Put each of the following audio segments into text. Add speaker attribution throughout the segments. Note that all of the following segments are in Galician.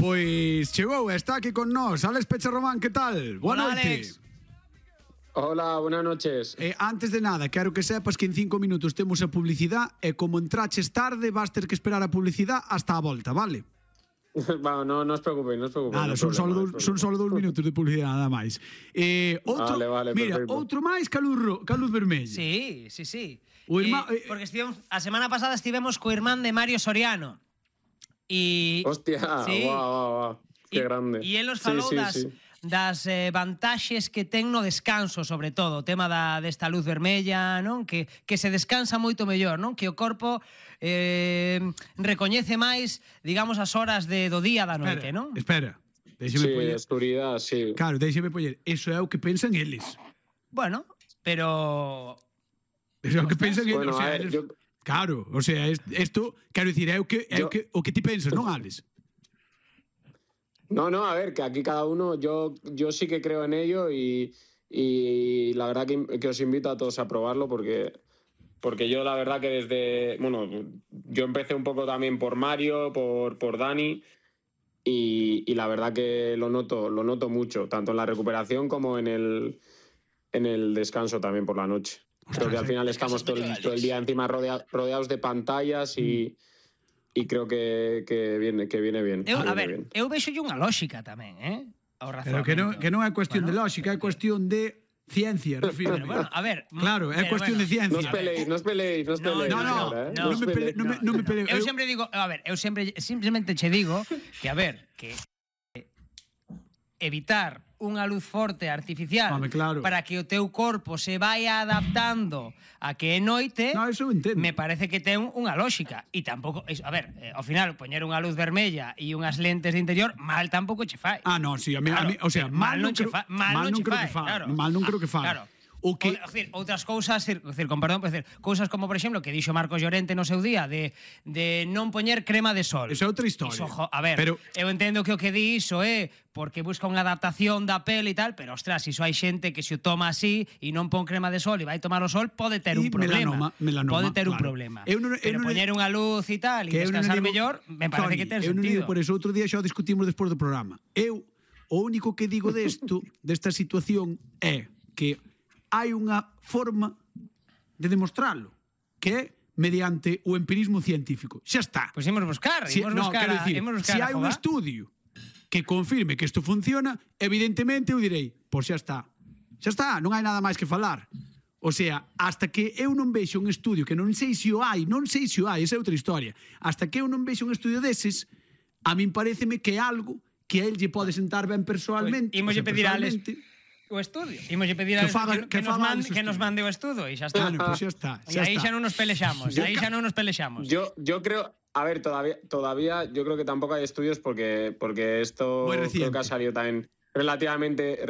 Speaker 1: Pois chegou, está aquí con nós Alex Pecharromán, que tal? Boa noite.
Speaker 2: Hola, buenas noches.
Speaker 1: Antes de nada, quero que sepas que en 5 minutos temos a publicidade e como entraches tarde vas ter que esperar a publicidade hasta a volta, vale?
Speaker 2: Bueno, no os preocupéis, no os preocupéis.
Speaker 1: Nada, son solo 2 minutos de publicidade, nada máis.
Speaker 2: Vale,
Speaker 1: mira,
Speaker 2: perfecto.
Speaker 1: outro máis que a luz vermella.
Speaker 3: Sí.
Speaker 1: Porque
Speaker 3: a semana pasada estivemos co irmán de Mario Soriano.
Speaker 2: Hostia,
Speaker 3: sí.
Speaker 2: Guau, qué grande.
Speaker 3: E él nos falou das vantaxes que ten no descanso, sobre todo, o tema desta luz vermella, non? Que se descansa moito mellor, non? Que o corpo recoñece máis, digamos, as horas do día da noite, non?
Speaker 1: Espera.
Speaker 2: Oscuridad, sí.
Speaker 1: Claro, déixeme poñer. Eso é o que pensan eles.
Speaker 3: Bueno, pero...
Speaker 1: Eso é o que pensan eles.
Speaker 2: Bueno,
Speaker 1: O sea, claro, o sea, isto, quero dicir, é o que ti pensas, non, Alex?
Speaker 2: No, a ver, que aquí cada uno, yo sí que creo en ello y la verdad que os invito a todos a probarlo porque yo la verdad que yo empecé un poco también por Mario, por Dani y la verdad que lo noto mucho, tanto en la recuperación como en el descanso también por la noche. Creo que al final estamos todo el día encima rodeados de pantallas y creo que viene bien.
Speaker 3: Eu vexo unha lógica tamén,
Speaker 1: Pero que non é cuestión de lógica, é cuestión de ciencia, refiro.
Speaker 3: Bueno, a ver...
Speaker 1: Claro, é cuestión de ciencia.
Speaker 2: No os peleéis.
Speaker 1: Non me peleo.
Speaker 3: Eu sempre digo, simplemente che digo que, a ver, que evitar unha luz forte artificial para que o teu corpo se vaya adaptando a que é noite, me parece que ten unha lógica. E tampouco, a ver, ao final, poñer unha luz vermella e unhas lentes de interior, mal tampouco che fai.
Speaker 1: Non, sí, a mí, o sea, mal non creo que fai. Mal non creo que fai.
Speaker 3: Claro. Outras cousas, con perdón, cousas como, por exemplo, que dixo Marcos Llorente no seu día de non poñer crema de sol.
Speaker 1: Esa é outra historia.
Speaker 3: A ver, eu entendo que o que di iso é porque busca unha adaptación da pele e tal, pero, ostras, iso hai xente que se o toma así e non pon crema de sol e vai tomar o sol, pode ter un problema. Pode ter un problema. Pero poñer unha luz e tal e descansar mellor, me parece que ten sentido.
Speaker 1: Eu non digo por eso, outro día xa o discutimos despois do programa. O único que digo desta situación é que hai unha forma de demostrarlo, que é mediante o empirismo científico. Xa está.
Speaker 3: Pois imos buscar. Se
Speaker 1: hai un estudio que confirme que isto funciona, evidentemente eu direi, pois xa está. Xa está, non hai nada máis que falar. O sea, hasta que eu non vexo un estudio, que non sei se o hai, esa é outra historia. Hasta que eu non vexo un estudio deses, a min paréceme que é algo que a él lle pode sentar ben persoalmente.
Speaker 3: Imos pedir a Alex o estudio. Imos pedir a que nos mande o estudo e xa está.
Speaker 1: Pois xa está.
Speaker 3: E aí xa non nos pelexamos.
Speaker 2: Yo creo, a ver, todavía yo creo que tampoco hay estudios porque esto creo que ha salido también relativamente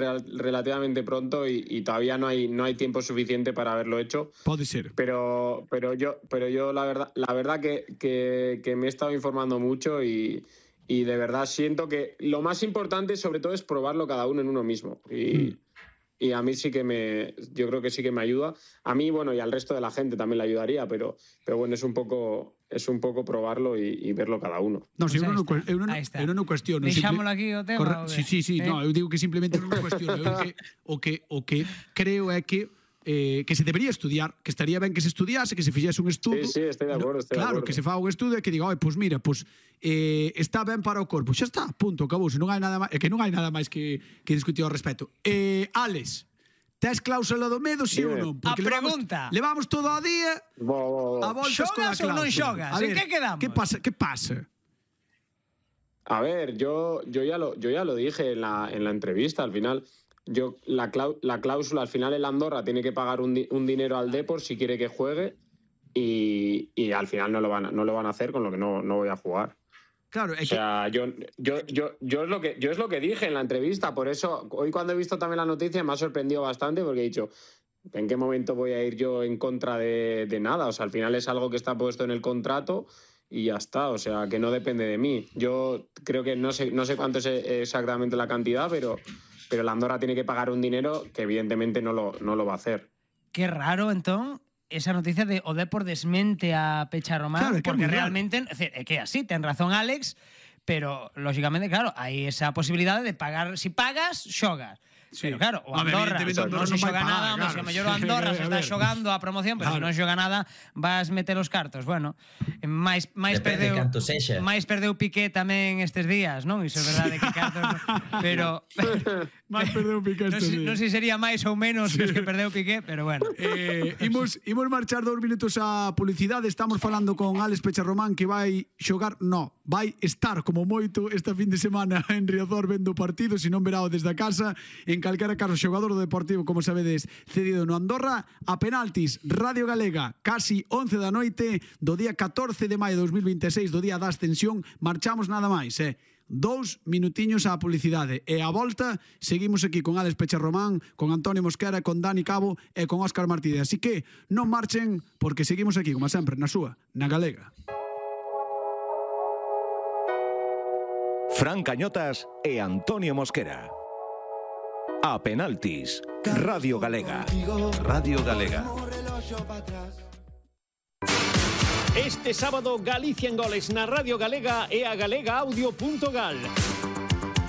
Speaker 2: pronto y todavía no hay tiempo suficiente para haberlo hecho.
Speaker 1: Puede ser.
Speaker 2: Pero yo la verdad que me he estado informando mucho y de verdad siento que lo más importante sobre todo es probarlo cada uno en uno mismo y a mí yo creo que sí que me ayuda a mí, bueno, y al resto de la gente también le ayudaría, pero bueno, es un poco probarlo y verlo cada uno.
Speaker 1: No, si eu non cuestiono.
Speaker 3: Deixámolo aquí o tema.
Speaker 1: Sí, no, eu digo que simplemente non cuestiono. O que creo é que se debería estudiar, que estaría ben que se estudiase, que se fixese un estudo.
Speaker 2: Sí, estoy de acordo.
Speaker 1: Claro, que se faga un estudo e que diga, pois mira, está ben para o corpo. Xa está, punto, acabouse. Non hai nada máis, que non hai nada máis que discutir ao respecto. Alex, tes cláusula do medo, sí ou non?
Speaker 3: Porque a pregunta.
Speaker 1: Levamos todo o día a voltas con a cláusula.
Speaker 3: Xogas ou non xogas? En que quedamos?
Speaker 1: Que pasa?
Speaker 2: A ver, yo ya lo dije en la entrevista, al final... la cláusula, al final el Andorra tiene que pagar un dinero al Depor si quiere que juegue y al final no lo van a hacer, con lo que no voy a jugar.
Speaker 1: Claro,
Speaker 2: o sea, yo es lo que dije en la entrevista, por eso hoy cuando he visto también la noticia me ha sorprendido bastante porque he dicho, ¿en qué momento voy a ir yo en contra de nada? O sea, al final es algo que está puesto en el contrato y ya está, o sea, que no depende de mí. Yo creo que no sé cuánto es exactamente la cantidad, pero la Andorra tiene que pagar un dinero que evidentemente no lo va a hacer.
Speaker 3: Qué raro, entón, esa noticia de o Depor desmente a Pecharromán, claro, porque realmente é que así, ten razón Alex, pero, lógicamente, claro, hai esa posibilidade de pagar. Si pagas, xogas.
Speaker 1: Sí.
Speaker 3: Pero claro, o Andorra non se xoga nada, se a mellor o Andorra se está xogando a promoción, pero se non xoga nada vas meter os cartos. Bueno, máis perdeu Piqué tamén estes días, non? Iso é verdade que cartos, pero
Speaker 1: máis perdeu Piqué estes días.
Speaker 3: Non sei se sería máis ou menos que os que perdeu Piqué, pero bueno.
Speaker 1: Imos marchar 2 minutos a publicidade. Estamos falando con Álex Pecharromán, que vai xogar, vai estar como moito esta fin de semana en Riazor vendo o partido, se non verao desde a casa. En calquera caso, xogador do Deportivo, como sabedes, cedido no Andorra. A penaltis, Radio Galega, casi 11 da noite do día 14 de maio de 2026, do día da ascensión. Marchamos nada máis, 2 minutiños á publicidade, e a volta seguimos aquí con Álex Pecharromán, con Antonio Mosquera, con Dani Cabo e con Óscar Martínez. Así que non marchen, porque seguimos aquí, como sempre, na súa, na Galega.
Speaker 4: Fran Cañotas e Antonio Mosquera. A penaltis, Radio Galega. Radio Galega.
Speaker 5: Este sábado, Galicia en goles na Radio Galega e a galegaaudio.gal.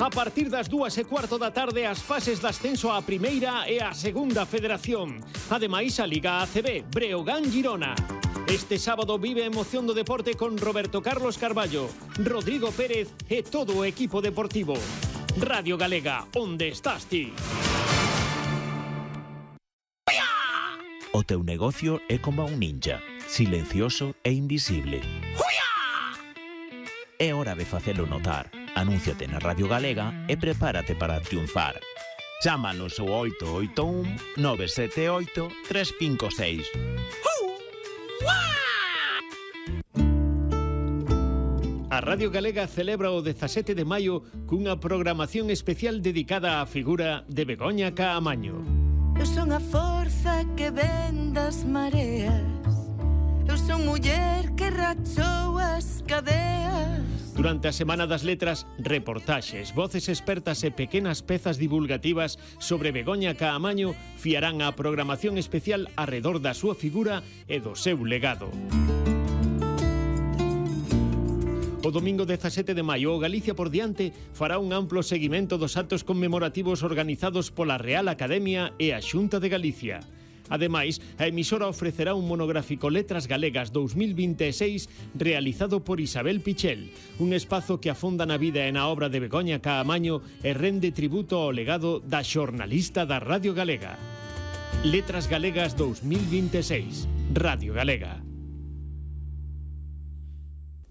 Speaker 5: A partir das 2:15 da tarde, as fases de ascenso á primeira e á segunda federación. Ademais, a Liga ACB, Breogán Girona. Este sábado vive a emoción do deporte con Roberto Carlos Carballo, Rodrigo Pérez e todo o equipo deportivo. Radio Galega, onde estás ti?
Speaker 6: O teu negocio é como un ninja, silencioso e invisible. É hora de facelo notar. Anúnciate na Radio Galega e prepárate para triunfar. Chámanos ao 881 978 356.
Speaker 5: A Radio Galega celebra o 17 de maio cunha programación especial dedicada á figura de Begoña Caamaño.
Speaker 7: Eu son a forza que ven das mareas. Eu son muller que rachou as cadeas.
Speaker 5: Durante a Semana das Letras, reportaxes, voces expertas e pequenas pezas divulgativas sobre Begoña Caamaño fiarán a programación especial arredor da súa figura e do seu legado. O domingo 17 de maio, o Galicia por diante fará un amplo seguimento dos actos conmemorativos organizados pola Real Academia e a Xunta de Galicia. Ademais, a emisora ofrecerá un monográfico Letras Galegas 2026 realizado por Isabel Pichel, un espazo que afonda na vida e na obra de Begoña Caamaño e rende tributo ao legado da xornalista da Radio Galega. Letras Galegas 2026, Radio Galega.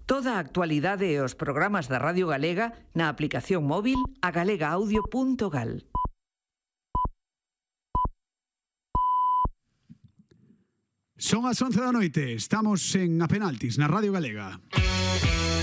Speaker 8: Toda a actualidade e os programas da Radio Galega na aplicación móvil a galegaaudio.gal.
Speaker 1: Son as 11 da noite, estamos en A Penaltis, na Radio Galega.